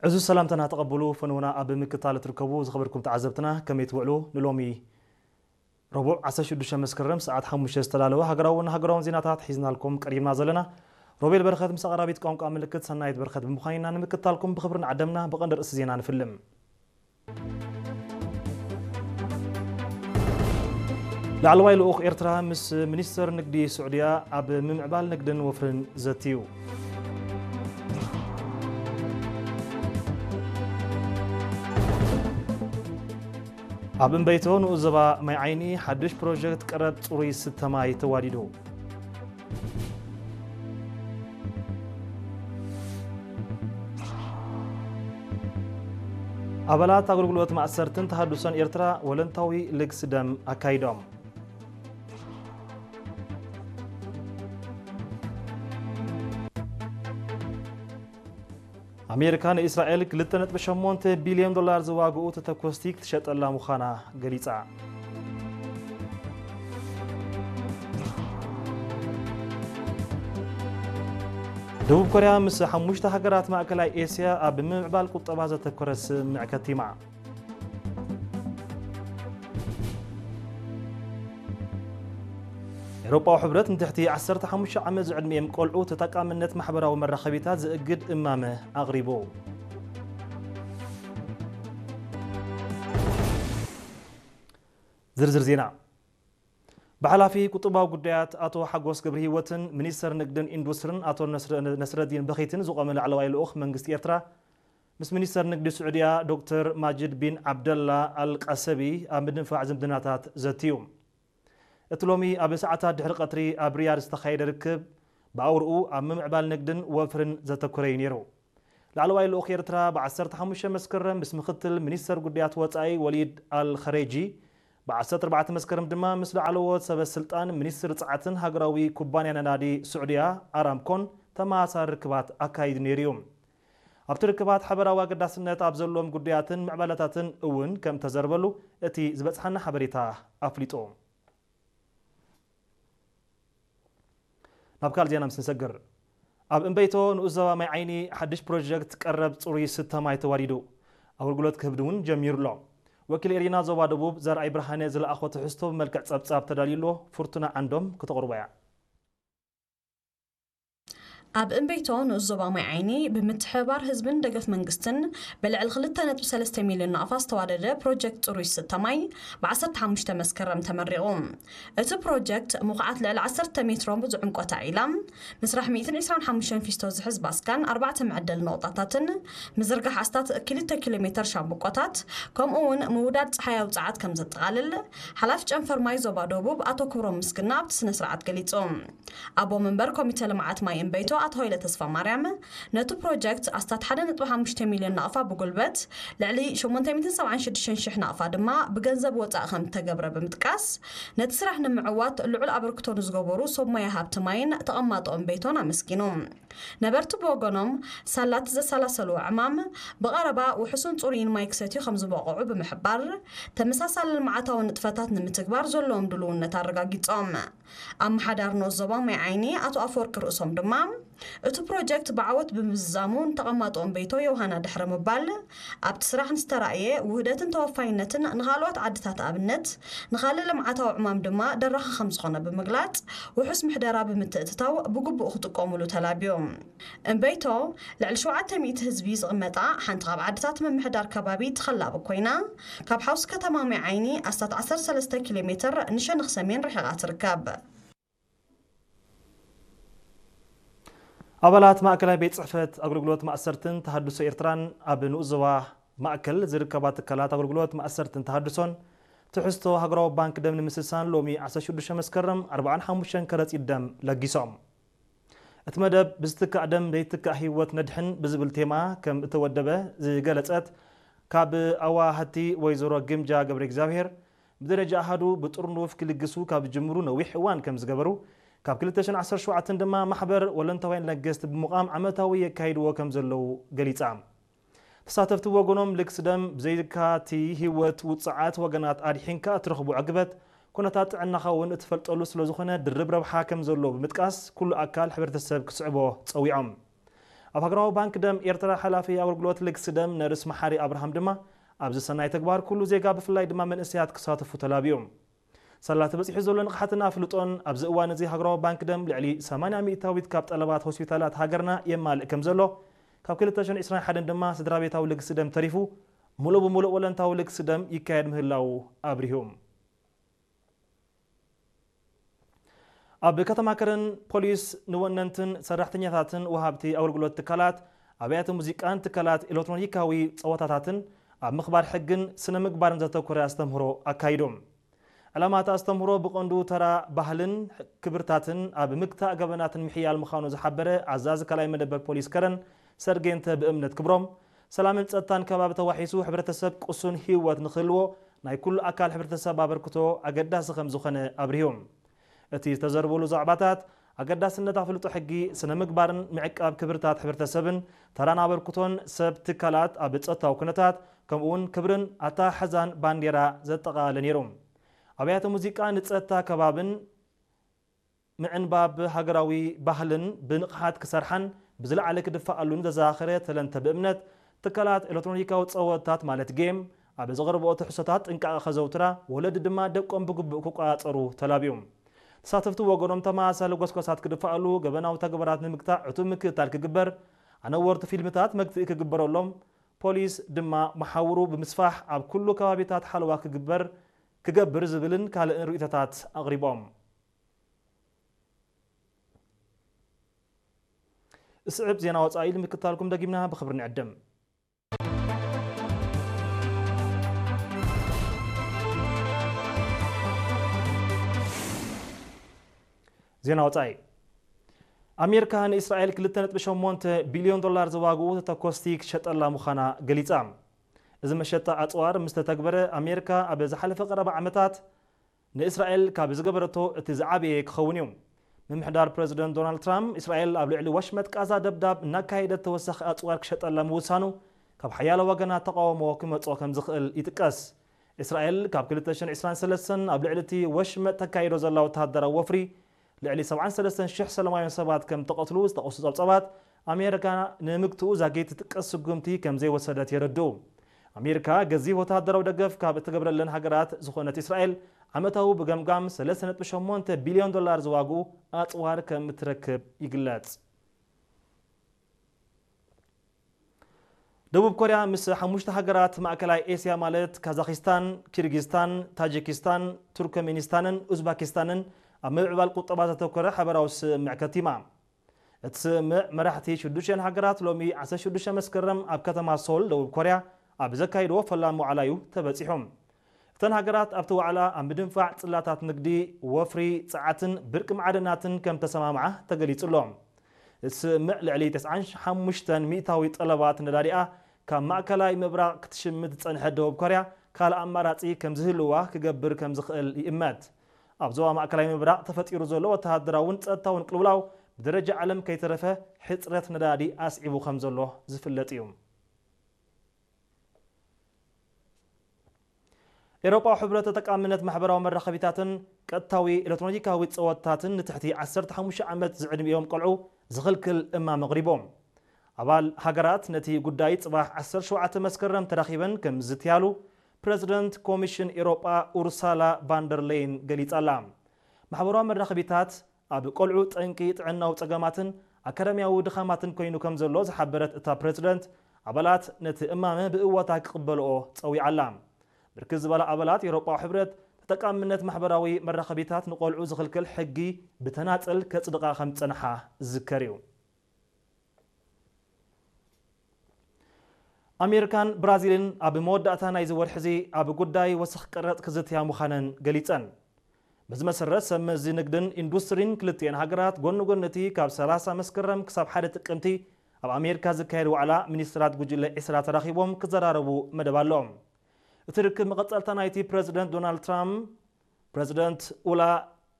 ዕዙዝ ሰላምታና ተቐብሉ፣ ፈነውና ኣብ ምክታል እትርከቡ ዝኸበርኩም ተዓዘብትና፣ ከመይ ትውዕሉ? ንሎሚ ረቡዕ ዓሰርተ ሽዱሽተ መስከረም ሰዓት ሓሙሽተ ዝተዳለወ ሃገራውን ሃገራውን ዜናታት ሒዝናልኩም ቀሪብና ዘለና። ሮቤል በረኸት ምስ ኣቕራቢት ቋንቋ ምልክት ሰናይት በረኸት ብምዃን ኢና ንምክታልኩም ብኽብሪ ንዓደምና። ብቐንዲ ርእሲ ዜና ንፍልም። ላዕለዋይ ልኡኽ ኤርትራ ምስ ሚኒስተር ንግዲ ስዑድያ ኣብ ምምዕባል ንግድን ወፍርን ዘትዩ። ኣብ እምበይቶ ንኡስ ዞባ ማይ ዓይኒ ሓድሽ ፕሮጀክት ቀረብ ጽሩይ ስተ ማይ ተዋዲዱ። ኣባላት ኣገልግሎት ማእሰርትን ተሃድሶን ኤርትራ ወለንታዊ ልግሲ ደም ኣካይዶም። ኣሜሪካ ንእስራኤል ክልተ ነጥቢ ሸሞንተ ቢልዮን ዶላር ዝዋግኡ ተተኮስቲ ክትሸጠላ ምዃና ገሊጻ። ደቡብ ኮርያ ምስ ሓሙሽተ ሃገራት ማእከላይ ኤስያ ኣብ ምምዕባል ቁጠባ ዘተኮረ ስምምዕ ከቲማ። ኤውሮጳዊ ሕብረት ንትሕቲ ዓሰርተ ሓሙሽተ ዓመት ዝዕድሚኦም ቆልዑ ተጠቃምነት ማሕበራዊ መራኸቢታት ዝእግድ እማመ ኣቕሪቡ። ዝርዝር ዜና። ብሓላፊ ቁጠባዊ ጉዳያት ኣቶ ሓጎስ ገብረህይወትን ሚኒስተር ንግድን ኢንዱስትርን ኣቶ ነስረ-፣ ነስረዲን በኺትን ዝቖመ ላዕለዋይ ልኡኽ መንግስቲ ኤርትራ ምስ ሚኒስተር ንግዲ ስዑድያ ዶክተር ማጅድ ቢን ዓብደላ ኣልቃሰቢ ኣብ ምድንፋዕ ዝምድናታት ዘትዩ። እቲ ሎሚ ኣብ ሰዓታት ድሕሪ ቀትሪ ኣብ ሪያድ ዝተኻየደ ርክብ ብኣውርኡ ኣብ ምምዕባል ንግድን ወፍርን ዘተኮረ እዩ ነይሩ። ላዕለዋይ ልኡኽ ኤርትራ ብ ዓሰርተ ሓሙሽተ መስከረም ምስ ምኽትል ሚኒስተር ጉዳያት ወጻኢ ወሊድ ኣል ኸሬጂ፣ ብ ዓሰርተ ኣርባዕተ መስከረም ድማ ምስ ላዕለዎት ሰበ ስልጣን ሚኒስትሪ ጸዓትን ሃገራዊ ኩባንያ ነዳዲ ስዑድያ ኣራምኮን ተመሳሳሊ ርክባት ኣካይዱ ነይሩ እዩ። ኣብቲ ርክባት ሓበራዊ ኣገዳስነት ኣብ ዘለዎም ጉዳያትን ምዕባለታትን እውን ከም ተዘርበሉ እቲ ዝበጽሓና ሓበሬታ ኣፍሊጡ። ናብ ካልእ ዜና ምስ ንሰግር፣ ኣብ እምበይቶ ንኡስ ዞባ ማይ ዓይኒ ሓድሽ ፕሮጀክት ቀረብ ጽሩይ ስተ ማይ ተዋዲዱ ኣገልግሎት ክህብ እውን ጀሚሩ ኣሎ። ወኪል ኤሪና ዞባ ደቡብ ዘርኣይ ብርሃነ ዝለኣኾ ትሕዝቶ ብመልክዕ ጸብጻብ ተዳልዩ ኣሎ። ፍርቱና ዓንዶም ክተቕርቦ እያ። ኣብ እምበይቶ ንኡስ ዞባ ማይ ዓይኒ ብምትሕብባር ህዝብን ደገፍ መንግስትን ብልዕሊ ክልተ ነጥቢ ሰለስተ ሚልዮን ናቕፋ ዝተዋደደ ፕሮጀክት ጽሩይ ዝስተ ማይ ብ ዓሰርተ ሓሙሽተ መስከረም ተመሪቑ። እቲ ፕሮጀክት ምኹዓት ልዕሊ ዓሰርተ ሜትሮ ዝዕምቆታ ዒላ፣ ምስራሕ ሚእትን ዕስራን ሓሙሽተን ፊስቶ ዝሕዝ ባስካን ኣርባዕተ መዐደሊ ነቑጣታትን፣ ምዝርጋሕ ኣስታት ክልተ ኪሎ ሜተር ሻምብቆታት፣ ከምኡ እውን ምውዳድ ጸሓያዊ ጸዓት ከም ዘጠቓልል፣ ሓላፊ ጨንፈር ማይ ዞባ ደቡብ ኣቶ ክብሮም ምስግና ኣብቲ ስነ ስርዓት ገሊጹ። ኣቦ መንበር ኮሚተ ልምዓት ማይ እምበይቶ ኣቶ ሃይለ ተስፋ ማርያም፣ ነቲ ፕሮጀክት ኣስታት ሓደ ነጥቢ ሓሙሽተ ሚልዮን ናቕፋ ብጉልበት፣ ልዕሊ ሸሞንተ ሚእትን ሰብዓን ሽዱሽተን ሽሕ ናቕፋ ድማ ብገንዘብ ወጻኢ ከም እተገብረ ብምጥቃስ፣ ነቲ ስራሕ ንምዕዋት ልዑል ኣበርክቶ ንዝገበሩ ሰብ ሞያ ሃብቲ ማይን ተቐማጦ እምበይቶን ኣመስጊኑ። ነበርቲ ብወገኖም፣ ሳላቲ ዘሰላሰልዎ ዕማም ብቐረባ ውሑስን ጽሩይን ማይ ክሰትዩ ከም ዝበቕዑ ብምሕባር፣ ተመሳሳሊ ልምዓታዊ ንጥፈታት ንምትግባር ዘለዎም ድልውነት ኣረጋጊጾም። ኣመሓዳሪ ንኡስ ዞባ ማይ ዓይኒ ኣቶ ኣፈወርቂ ርእሶም ድማ፣ እቲ ፕሮጀክት ብዓወት ብምዝዛሙ ንተቐማጦ እምበይቶ ዮሃና ድሕሪ ምባል፣ ኣብቲ ስራሕ ንዝተራእየ ውህደትን ተወፋይነትን ንኻልኦት ዓድታት ኣብነት፣ ንኻልእ ልምዓታዊ ዕማም ድማ ደራኺ ከም ዝኾነ ብምግላጽ፣ ውሑስ ምሕደራ ብምትእትታው ብግቡእ ክጥቀሙሉ ተላብዮም። እምበይቶ፣ ልዕሊ ሸውዓተ ሚእቲ ህዝቢ ዝቕመጣ ሓንቲ ካብ ዓድታት ምምሕዳር ከባቢ ተኸላቢ ኮይና፣ ካብ ሓውሲ ከተማ ማይ ዓይኒ ኣስታት ዓሰርተ ሰለስተ ኪሎ ሜትር ንሸነኽ ሰሜን ርሒቓ ትርከብ። ኣባላት ማእከላይ ቤት ጽሕፈት ኣገልግሎት ማእሰርትን ተሃድሶ ኤርትራን ኣብ ንኡስ ዞባ ማእከል ዝርከባ ትካላት ኣገልግሎት ማእሰርትን ተሃድሶን ትሕዝቶ ሃገራዊ ባንክ ደም ንምስሳን ሎሚ ዓሰርተ ሽዱሽተ መስከረም ኣርብዓን ሓሙሽተን ከረጺት ደም ለጊሶም። እቲ መደብ ብዝትካእ ደም ዘይትካእ ህይወት ነድሕን ብዝብል ቴማ ከም እተወደበ ዝገለጸት ካብ ኣዋሃቲ ወይዘሮ ግምጃ ገብረ እግዚኣብሔር፣ ብደረጃ ኣሃዱ ብጥርኑፍ ክልግሱ ካብ ዝጅምሩ ነዊሕ እዋን ከም ዝገበሩ፣ ካብ ክልተ ሽሕን ዓሰርተ ሸውዓተን ድማ ማሕበር ወለንታውያን ለገስቲ ብምቋም ዓመታዊ የካይድዎ ከም ዘለዉ ገሊጻ። ተሳተፍቲ ብወገኖም፣ ልግሲ ደም ብዘይካ እቲ ህይወት ውጹዓት ወገናት ኣድሒንካ እትረኽቦ ዕግበት፣ ኩነታት ጥዕናኻ እውን እትፈልጠሉ ስለ ዝኾነ ድርብ ረብሓ ከም ዘለዎ ብምጥቃስ፣ ኩሉ ኣካል ሕብረተሰብ ክስዕቦ ጸዊዖም። ኣብ ሃገራዊ ባንክ ደም ኤርትራ ሓላፊ ኣገልግሎት ልግሲ ደም ነርስ መሓሪ ኣብርሃም ድማ፣ ኣብዚ ሰናይ ተግባር ኩሉ ዜጋ ብፍላይ ድማ መንእሰያት ክሳተፉ ተላብዮም። ሳላ ተበጺሑ ዘሎ ንቕሓትን ኣፍልጦን ኣብዚ እዋን እዚ ሃገራዊ ባንክ ደም ልዕሊ ሰማንያ ሚእታዊት ካብ ጠለባት ሆስፒታላት ሃገርና የማልእ ከም ዘሎ፣ ካብ ክልተ ሽሕን ዕስራን ሓደን ድማ ስድራ ቤታዊ ልግሲ ደም ተሪፉ፣ ሙሉእ ብሙሉእ ወለንታዊ ልግሲ ደም ይካየድ ምህላዉ ኣብሪሁ። ኣብ ከተማ ከረን ፖሊስ ንወነንትን ሰራሕተኛታትን ወሃብቲ ኣገልግሎት ትካላት ኣብያተ ሙዚቃን ትካላት ኤሌክትሮኒካዊ ጸወታታትን ኣብ ምኽባር ሕግን ስነ ምግባርን ዘተኮረ ኣስተምህሮ ኣካይዶም። ዕላማ እቲ ኣስተምህሮ ብቐንዱ ተራ ባህልን ክብርታትን ኣብ ምግታእ ገበናትን ምሕያል ምዃኑ ዝሓበረ ኣዛዚ ካልኣይ መደበር ፖሊስ ከረን ሰርጌንተ ብእምነት ክብሮም፣ ሰላምን ጸጥታን ከባቢ ተዋሒሱ ሕብረተሰብ ቅሱን ህይወት ንክህልዎ ናይ ኩሉ ኣካል ሕብረተሰብ ኣበርክቶ ኣገዳሲ ከም ዝኾነ ኣብሪሁ። እቲ ዝተዘርበሉ ዛዕባታት ኣገዳስነት ኣፍልጦ ሕጊ፣ ስነ ምግባርን ምዕቃብ ክብርታት ሕብረተሰብን ተራን ኣበርክቶን ሰብ ትካላት ኣብ ጸጥታዊ ኩነታት ከምኡ እውን ክብርን ኣተሓሕዛን ባንዴራ ዘጠቓለለ ነይሩ። ኣብያተ ሙዚቃ ንጸጥታ ከባብን ምዕንባብ ሃገራዊ ባህልን ብንቕሓት ክሰርሓን ብዝለዓለ ክድፈኣሉን ዘዘኻኸረ ተለንተ ብእምነት ትካላት ኤሌክትሮኒካዊ ጸወታት ማለት ጌም ኣብ ዘቕርብኦ ትሕዝቶታት ጥንቃቐ ከዘውትራ ወለዲ ድማ ደቆም ብግቡእ ክቆጻጸሩ ተላብዩ። ተሳተፍቲ ወገኖም ተመሳሳሊ ጎስጓሳት ክድፈኣሉ ገበናዊ ተግባራት ንምግታእ ዕቱብ ምክትታል ክግበር ኣነወርቲ ፊልምታት መግትኢ ክግበረሎም ፖሊስ ድማ መሓውሩ ብምስፋሕ ኣብ ኩሉ ከባቢታት ሓለዋ ክግበር ክገብር ዝብልን ካልእን ርእይቶታት ኣቕሪቦም። እስዕብ ዜና ወጻኢ ንምክታልኩም ደጊምና ብኽብሪ ንዕድም። ዜና ወጻኢ። ኣሜሪካ ንእስራኤል ክልተ ነጥቢ ሸሞንተ ቢልዮን ዶላር ዝዋግኡ ተተኮስቲ ክሸጠላ ምዃና ገሊጻ። እዚ መሸጣ ኣጽዋር ምስ ተተግበረ ኣሜሪካ ኣብ ዝሓለፈ ቀረባ ዓመታት ንእስራኤል ካብ ዝገበረቶ እቲ ዝዓበየ ክኸውን እዩ። ምምሕዳር ፕረዚደንት ዶናልድ ትራምፕ እስራኤል ኣብ ልዕሊ ወሽመጥ ቃዛ ደብዳብ እናካየደት ተወሳኺ ኣጽዋር ክሸጠላ ምውሳኑ ካብ ሓያሎ ወገናት ተቃውሞ ክመጾ ከም ዝኽእል ይጥቀስ። እስራኤል ካብ ክልተ ሽሕን ዕስራን ሰለስተን ኣብ ልዕሊ እቲ ወሽመጥ ተካይዶ ዘላ ወተሃደራዊ ወፍሪ ልዕሊ ሰብዓን ሰለስተን ሽሕ ሰላማውያን ሰባት ከም ተቐትሉ ዝጠቐሱ ጸብጻባት ኣሜሪካ ንምግትኡ ዛጊት ትጥቀስ ስጉምቲ ከም ዘይወሰደት የረድኡ። ኣሜሪካ ገዚፍ ወተሃደራዊ ደገፍ ካብ እትገብረለን ሃገራት ዝኾነት እስራኤል ዓመታዊ ብገምጋም ሰለስተ ነጥቢ ሸሞንተ ቢልዮን ዶላር ዝዋግኡ ኣጽዋር ከም እትረክብ ይግለጽ። ደቡብ ኮርያ ምስ ሓሙሽተ ሃገራት ማእከላይ ኤስያ ማለት ካዛኪስታን፣ ኪርጊስታን፣ ታጂኪስታን፣ ቱርክሜኒስታንን ኡዝባኪስታንን ኣብ ምምዕባል ቁጠባ ዘተኮረ ሓበራዊ ስምምዕ ከቲማ። እቲ ስምምዕ መራሕቲ ሽዱሽተን ሃገራት ሎሚ ዓሰርተ ሽዱሽተ መስከረም ኣብ ከተማ ሶል ደቡብ ኮርያ ኣብ ዘካይድዎ ፈላሚ ዋዕላ እዩ ተበጺሑ። እተን ሃገራት ኣብቲ ዋዕላ ኣብ ምድንፋዕ ጽላታት ንግዲ፣ ወፍሪ፣ ጸዓትን ብርቂ ማዕድናትን ከም ተሰማምዓ ተገሊጹ ኣሎ። እቲ ስምምዕ ልዕሊ ተስዓን ሓሙሽተን ሚእታዊ ጠለባት ነዳዲኣ ካብ ማእከላይ ምብራቕ ክትሽምት ዝጸንሐት ደቡብ ኮርያ ካልእ ኣማራጺ ከም ዝህልዋ ክገብር ከም ዝኽእል ይእመት። ኣብ ዞባ ማእከላይ ምብራቕ ተፈጢሩ ዘሎ ወተሃደራውን ጸጥታውን ቅልውላው ብደረጃ ዓለም ከይተረፈ ሕጽረት ነዳዲ ኣስዒቡ ከም ዘሎ ዝፍለጥ እዩ። ኤውሮጳዊ ሕብረት ተጠቃምነት ማሕበራዊ መራኸቢታትን ቀጥታዊ ኤሌክትሮኒካዊ ጸወታትን ንትሕቲ ዓሰርተ ሓሙሽተ ዓመት ዝዕድሚኦም ቆልዑ ዝኽልክል እማም ኣቕሪቦም። ኣባል ሃገራት ነቲ ጉዳይ ጽባሕ ዓሰርተ ሸውዓተ መስከረም ተራኺበን ከም ዝዝትያሉ ፕረዚደንት ኮሚሽን ኤውሮጳ ኡርሳላ ቫንደር ሌይን ገሊጻ ኣላ። ማሕበራዊ መራኸቢታት ኣብ ቆልዑ ጠንቂ ጥዕናዊ ጸገማትን ኣካዳሚያዊ ድኻማትን ኮይኑ ከም ዘሎ ዝሓበረት እታ ፕረዚደንት፣ ኣባላት ነቲ እማመ ብእወታ ክቕበልኦ ጸዊዓ ኣላ። ብርክት ዝበላ ኣባላት ኤውሮጳዊ ሕብረት ተጠቃምነት ማሕበራዊ መራኸቢታት ንቆልዑ ዝኽልክል ሕጊ ብተናጸል ከጽድቓ ከም ዝጸንሓ ዝዝከር እዩ። ኣሜሪካን ብራዚልን ኣብ መወዳእታ ናይዚ ወርሒ እዚ ኣብ ጉዳይ ወሰኽ ቀረጽ ክዝትያ ምዃነን ገሊጸን። በዚ መሰረት ሰብ መዚ ንግድን ኢንዱስትሪን ክልቲኤን ሃገራት ጎኒ ጎኒ እቲ ካብ ሰላሳ መስከረም ክሳብ ሓደ ጥቅምቲ ኣብ ኣሜሪካ ዝካየድ ዋዕላ ሚኒስትራት ጉጅለ ዕስራ ተራኺቦም ክዘራረቡ መደብ ኣለዎም። እቲ ርክብ መቐጸልታ ናይቲ ፕረዚደንት ዶናልድ ትራምፕ ፕረዚደንት ኡላ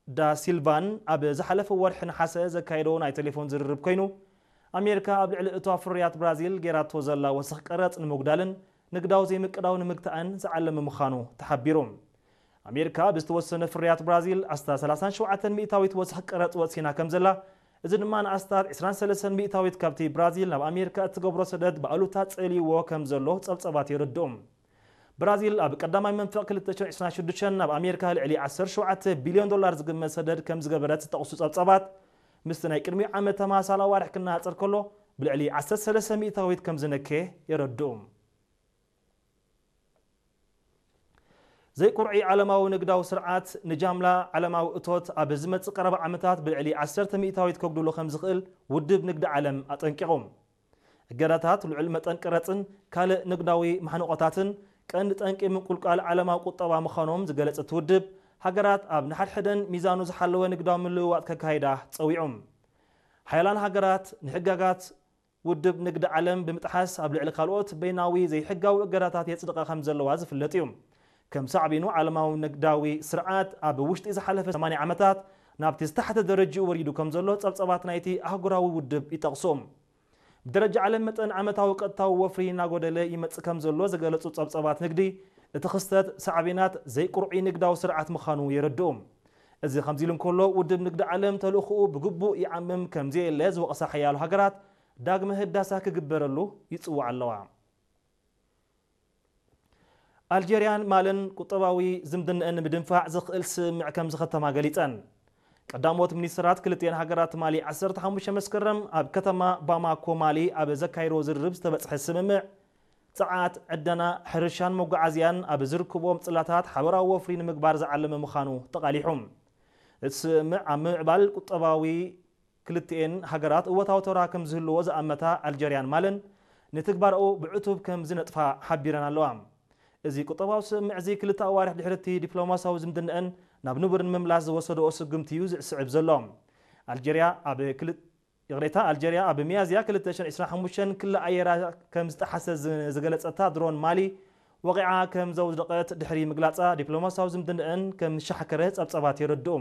ዳ ሲልቫን ኣብ ዝሓለፈ ወርሒ ነሓሰ ዘካየዶ ናይ ቴሌፎን ዝርርብ ኮይኑ፣ ኣሜሪካ ኣብ ልዕሊ እቶ ፍርያት ብራዚል ጌራቶ ዘላ ወሰኽ ቀረጽ ንምጉዳልን ንግዳዊ ዘይምቅዳው ንምግታእን ዝዓለመ ምዃኑ ተሓቢሩ። ኣሜሪካ ብዝተወሰነ ፍርያት ብራዚል ኣስታ ሰላሳን ሸውዓተን ሚእታዊት ወሰኽ ቀረጽ ወሲና ከም ዘላ እዚ ድማ ንኣስታት ዕስራን ሰለስተን ሚእታዊት ካብቲ ብራዚል ናብ ኣሜሪካ እትገብሮ ሰደድ ብኣሉታ ጸልይዎ ከም ዘሎ ጸብጸባት የረድኡ። ብራዚል ኣብ ቀዳማይ መንፈቕ ክልተ ሽሕን ዕስራን ሽዱሽተን ናብ ኣሜሪካ ልዕሊ ዓሰርተ ሸውዓተ ቢልዮን ዶላር ዝግመት ሰደድ ከም ዝገበረት ዝጠቕሱ ጸብጸባት፣ ምስቲ ናይ ቅድሚ ዓመት ተመሳሳሊ ኣዋርሕ ክነጻጸር ከሎ ብልዕሊ ዓሰርተ ሰለስተ ሚእታዊት ከም ዝነከየ የረድኡ። ዘይቁርዒ ዓለማዊ ንግዳዊ ስርዓት ንጃምላ ዓለማዊ እቶት ኣብ ዝመጽእ ቀረባ ዓመታት ብልዕሊ ዓሰርተ ሚእታዊት ከጉድሎ ከም ዝኽእል ውድብ ንግዲ ዓለም ኣጠንቂቑ። እገዳታት ልዑል መጠን ቀረጽን ካልእ ንግዳዊ ማሕንቆታትን ቀንዲ ጠንቂ ምንቁልቋል ዓለማዊ ቁጠባ ምዃኖም ዝገለጸ እቲ ውድብ፣ ሃገራት ኣብ ንሓድሕደን ሚዛኑ ዝሓለወ ንግዳዊ ምልውዋጥ ከካይዳ ጸዊዑ። ሓያላን ሃገራት ንሕጋጋት ውድብ ንግዲ ዓለም ብምጥሓስ ኣብ ልዕሊ ካልኦት በይናዊ ዘይሕጋዊ እገዳታት የጽድቓ ከም ዘለዋ ዝፍለጥ እዩ። ከም ሳዕቤኑ ዓለማዊ ንግዳዊ ስርዓት ኣብ ውሽጢ ዝሓለፈ ሰማንያ ዓመታት ናብቲ ዝተሓተ ደረጅኡ ወሪዱ ከም ዘሎ ጸብጸባት ናይቲ ኣህጉራዊ ውድብ ይጠቕሱ። ብደረጃ ዓለም መጠን ዓመታዊ ቀጥታዊ ወፍሪ እናጎደለ ይመጽእ ከም ዘሎ ዝገለጹ ጸብጸባት ንግዲ፣ እቲ ክስተት ሳዕቤናት ዘይቁርዒ ንግዳዊ ስርዓት ምዃኑ የረድኡ። እዚ ከምዚ ኢሉ እንከሎ፣ ውድብ ንግዲ ዓለም ተልእኾኡ ብግቡእ ይዓምም ከም ዘየለ ዝወቕሳ ሓያሎ ሃገራት ዳግመ ህዳሳ ክግበረሉ ይጽውዓ ኣለዋ። ኣልጀርያን ማልን ቁጠባዊ ዝምድንአን ንምድንፋዕ ዝኽእል ስምምዕ ከም ዝኸተማ ገሊጸን። ቀዳሞት ሚኒስትራት ክልቲኤን ሃገራት ትማሊ ዓሰርተ ሓሙሽተ መስከረም ኣብ ከተማ ባማኮ ማሊ ኣብ ዘካየድዎ ዝርርብ ዝተበጽሐ ስምምዕ፣ ጸዓት፣ ዕደና፣ ሕርሻን መጓዓዝያን ኣብ ዝርክብዎም ጽላታት ሓበራዊ ወፍሪ ንምግባር ዝዓለመ ምዃኑ ተቓሊሑ። እቲ ስምምዕ ኣብ ምምዕባል ቁጠባዊ ክልቲኤን ሃገራት እወታዊ ተራ ከም ዝህልዎ ዝኣመታ ኣልጀርያን ማልን ንትግባረኡ ብዕቱብ ከም ዝነጥፋ ሓቢረን ኣለዋ። እዚ ቁጠባዊ ስምምዕ እዚ ክልተ ኣዋርሕ ድሕሪ እቲ ዲፕሎማሲያዊ ዝምድንአን ናብ ንቡር ንምምላስ ዝወሰደኦ ስጉምቲ እዩ ዝስዕብ ዘሎ። ኣልጀርያ ኣብ ክል-፣ ይቕሬታ፣ ኣልጀርያ ኣብ ሚያዝያ ክልተ ሽሕን ዕስራን ሓሙሽተን ክሊ ኣየራ ከም ዝጠሓሰ ዝ-፣ ዝገለጸታ ድሮን ማሊ ወቒዓ ከም ዘውደቐት ድሕሪ ምግላጻ፣ ዲፕሎማሲያዊ ዝምድንአን ከም ዝሻሕከረ ጸብጸባት የረድኡ።